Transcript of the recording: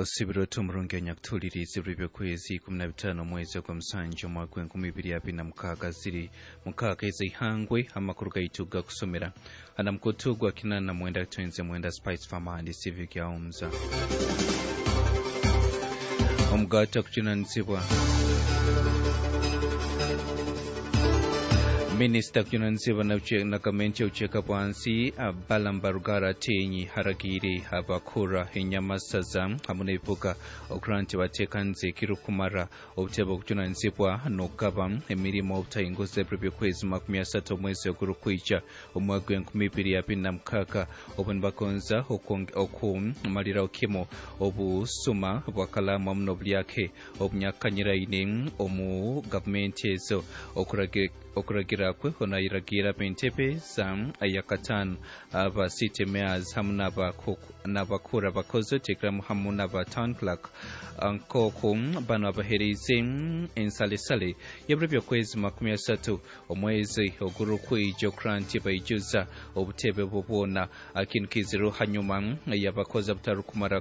Osibira oti omurungi anyakutuhuliriize ebiro by'okwezi 15 omwezi ogw'omusanju omwaka gw'e 2026, ziri 6 ez'eihangwe. Amakuru gaitu gakusomera ana mukutu gwa 89 Spice Farm and Civic Homes. Omugaata kujunanizibwa Minisita kujunanizibwa na gavumenti y'obucweka bwansi Balaam Barugahara Ateenyi haragiire abakura enyamasaza hamu n'ebibuga okura nti bateekanize ekirukumara obutebe okujunanizibwa n'okugaba emirimo obutahinguza ebiro by'okwezi 30 omwezi ogurukwija omwaka gw'e 2026, obu nibagonza okumaliraho kimu obusuma bwa kalaamu hamu n'obulyake obunyakanyiraine omu gavumenti ezo. Okuragira kwe onayiragira ab'entebe za yakataano, aba city mayors hamu n'abakuru abakozi, oteekeramu hamu n'aba town clerk, nk'oku bano abaheeriize ensalesale y'ebiro by'okwezi 30 omwezi ogurukwija okura nti baijuza obutebe bwo bwona. Kintu kiziru hanyuma y'abakozi abatarukumara.